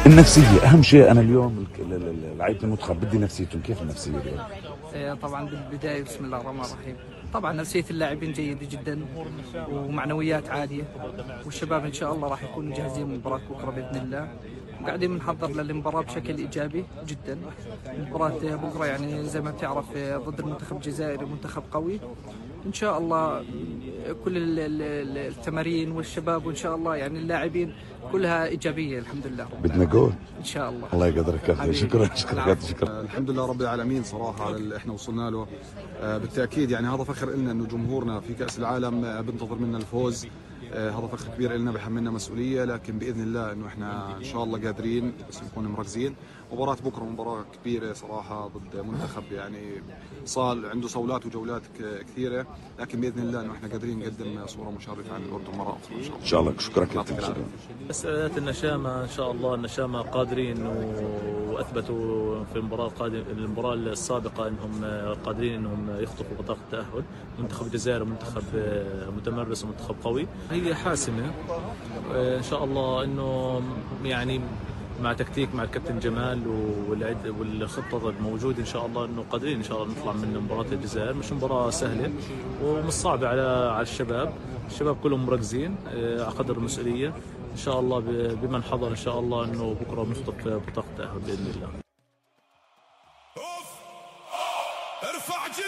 النفسية أهم شيء. أنا اليوم لعيبة المنتخب بدي نفسيتهم، كيف النفسية اليوم؟ طبعا بالبداية بسم الله الرحمن الرحيم، طبعا نفسية اللاعبين جيدة جدا ومعنويات عالية، والشباب إن شاء الله راح يكونوا جاهزين من مباراة بكرة بإذن الله، وقاعدين بنحضر للمباراة بشكل إيجابي جدا. مباراة بكرة يعني زي ما بتعرف ضد المنتخب الجزائري، منتخب قوي إن شاء الله. كل التمارين والشباب وإن شاء الله يعني اللاعبين كلها إيجابية الحمد لله. بدنا جول إن شاء الله. الله يقدرك كابتن. شكرا. الحمد لله رب العالمين صراحة على اللي احنا وصلنا له. بالتأكيد يعني هذا فخر لنا انه جمهورنا في كأس العالم بنتظر منا الفوز. هذا فخر كبير لنا، بحملنا مسؤولية، لكن بإذن الله انه احنا ان شاء الله قادرين بس نكون مركزين. مباراة بكرة مباراة كبيرة صراحة ضد منتخب يعني صار عنده صولات وجولات كثيرة، لكن بإذن الله انه احنا قادرين نقدم صورة مشرفة عن الأردن مرة أخرى إن شاء الله. إن شاء الله. شكرا كابتن. مسألة النشامة إن شاء الله، النشامة قادرين وأثبتوا في المباراة السابقة أنهم قادرين أنهم يخطفوا بطاقة التأهل. منتخب الجزائر منتخب متمرس ومنتخب قوي، هي حاسمة إن شاء الله. أنه يعني مع تكتيك مع الكابتن جمال والخطة الموجودة إن شاء الله أنه قادرين إن شاء الله نطلع من مباراة الجزائر. مش مباراة سهلة ومش صعبة على الشباب كلهم مركزين على قدر المسؤولية إن شاء الله. بمن حضر إن شاء الله أنه بكرة بنخطف بطاقة التأهل بإذن الله.